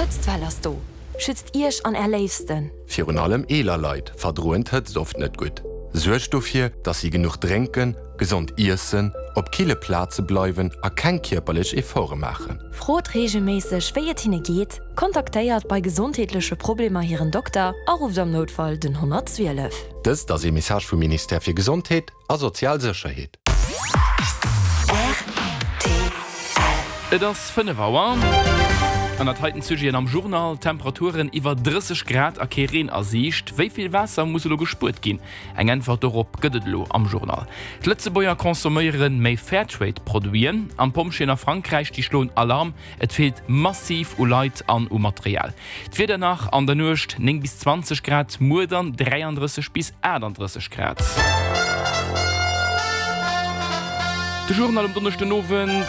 D'Hëtztwell ass do! Schützt Iech an Är Léifsten! Virun allem eeler Leit verdroen d'Hëtzt oft net gutt. Suergt dofir, dass si genuch drénken, gesond iessen, op kille Plaze bleiwen a keng kierperlech Efforte maachen. Frot reegelméisseg, wéi et hinne geet, kontaktéiert bei gesondheetleche Problemer hiren Dokter a rufft am Noutfall den 112. Dëst ass ee Message vum Ministère fir Gesondheet a sozial Sécherheet. Et ass 5 Auer. An dat heiten d'Sujeten am Journal, Temperaturen iwwer 30 Grad a kee Reen a Siicht. Wéi vill Waasser muss elo gespuert ginn? Eng Äntwert dorop gëtt et elo am Journal. D'Lëtzebuerger consomméiere méi Fairtrade-Produiten. An d'Pompjeeën a Frankräich, déi schloen Alarm, Et feelt massiv u Leit an u Material. D'Wieder nach an der Nuecht 9 bis 20 Grad, muer dann 33 bis 38 Grad. De Journal um Donneschden Owend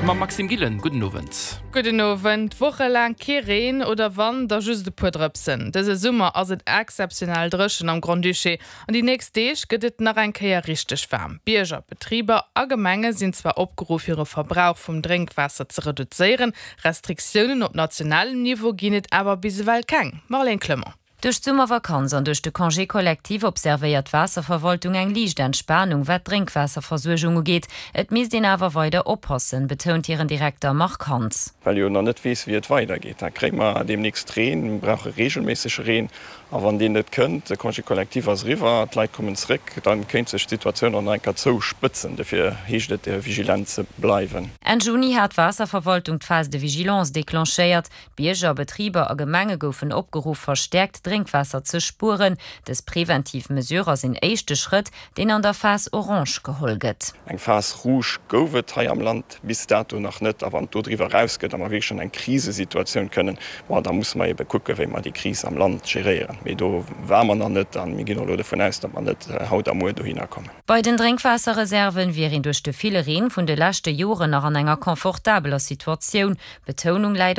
mam Maxime Gillen. Gudden Owend. Gudden Owend. Wochelaang kee Reen oder wann, da just e puer Drëpsen. Dëse Summer ass et exzeptionell dréchen am Grand-Duché. An déi nächst Deeg gëtt et nach eng Kéier richteg waarm. Bierger, Betriber a Gemenge sinn zwar opgeruff hire Verbrauch vum Drénkwaasser ze reduzéieren, Restriktiounen op nationalem Niveau ginn et awer bis ewell keng. Marlène Clement. Duerch d'Summervakanz an duerch de Congé collectif observéiert d'Waasserverwaltung eng liicht Entspanung, wat d'Drénkwaasserversuergung ugeet. Et misst een awer weider oppassen, betount hiren Direkter Marc Hans. Well jo nach net weess, wéi et weidergeet. Da kréie mer deemnächst Reen, mir brauche reegelméissege Reen. A wann deen net kënnt, de Congé collectif ass eriwwer, d'Leit kommen zréck, da kéint sech d'Situatioun och nach eng Kéier zouspëtzen. Dofir heescht et, vigilant ze bleiwen. Enn Juni hat d'Waasserverwaltung d'Phase de vigilance declenchéiert. D'Bierger, Betriber a Gemenge goufen opgeruff, verstäerkt Drénkwaasser ze spueren. Dës preventiv Mesure ass een éischte Schrëtt, deen an der Phase orange geholl gëtt. Eng Phase rouge gouf et hei am Land bis dato nach net. A wann et do driwwer erausgëtt a mer wierklech an eng Krisesituatioun kënnen, bon, da musse mer ebe kucken, wéi mer déi Kris am Land geréieren. Mee do ware mer nach net a mir ginn och elo dovun aus, datt mer net haut a muer dohinner kommen. Bei den Drénkwaasserreserven wier een duerch de ville Reen vun de leschte Joren nach an enger confortabeler Situatioun. D'Betounung läit op.